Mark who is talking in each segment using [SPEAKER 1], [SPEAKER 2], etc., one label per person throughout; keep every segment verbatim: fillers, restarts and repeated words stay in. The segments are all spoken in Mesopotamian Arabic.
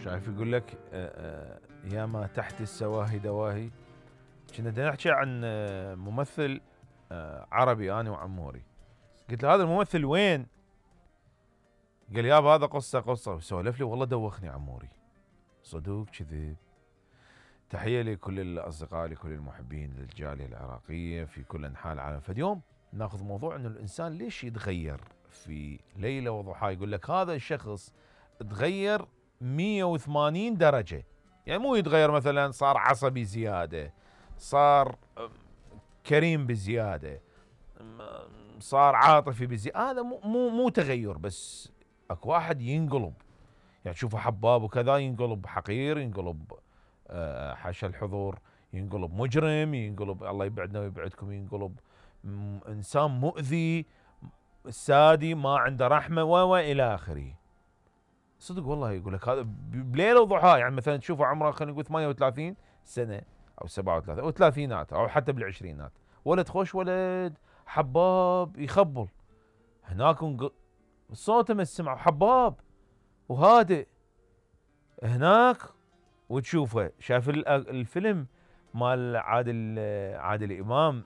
[SPEAKER 1] شايف يقول لك يا ما تحت السواهي دواهي. كنا بدنا نحكي عن ممثل عربي انا وعموري. قلت له هذا الممثل وين؟ قال يابا هذا قصه قصه، وسولف لي والله دوخني عموري. صدوق كذب. تحيه لكل الاصدقاء، لكل المحبين للجاليه العراقيه في كل انحاء العالم. فاليوم ناخذ موضوع انه الانسان ليش يتغير في ليله وضحاها. يقول لك هذا الشخص تغير مية وثمانين درجه، يعني مو يتغير مثلا صار عصبي زياده، صار كريم بزياده، صار عاطفي بزياده. هذا مو مو مو تغير، بس اكو واحد ينقلب، يعني تشوفه حباب وكذا ينقلب حقير، ينقلب حاشا الحضور، ينقلب مجرم، ينقلب الله يبعدنا ويبعدكم، ينقلب انسان مؤذي سادي ما عنده رحمه و الى اخره. صدق والله يقول لك هذا بليله وضحاها. يعني مثلا تشوفه عمره خلينا نقول ثمانية وثلاثين سنه او سبعة وثلاثين او ثلاثينات او حتى بالعشرينات، ولد خوش ولد حباب يخبل هناك صوته مسمع حباب وهادئ هناك. وتشوفه شاف الفيلم مال عادل عادل امام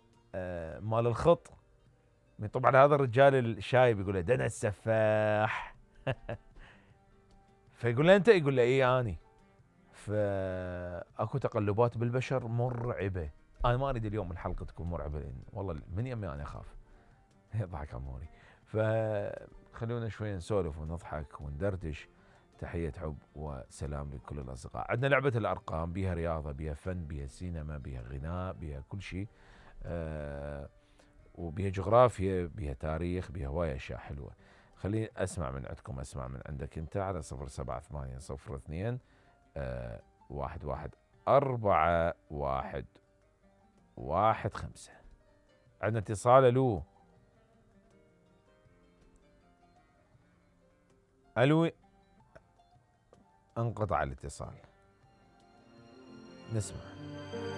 [SPEAKER 1] مال الخط، طبعا هذا الرجال الشايب يقول له دنا السفاح فيقول له انت، يقول له اي اني. فاكو تقلبات بالبشر مرعبه. انا ما اريد اليوم الحلقه تكون مرعبه، لان والله من يمي انا اخاف. يضحك عموري. فخلونا شوي نسولف ونضحك وندردش. تحيه حب وسلام لكل الاصدقاء. عندنا لعبه الارقام، بيها رياضه، بيها فن، بيها سينما، بيها غناء، بيها كل شيء، أه وبيها جغرافيا، بيها تاريخ، بيها هوايه اشياء حلوه. خليني اسمع من عندكم، اسمع من عندك انت على صفر سبعة ثمانية صفر اثنين أه واحد واحد أربعة واحد واحد خمسة. عندنا اتصال. الو الو انقطع الاتصال. نسمع.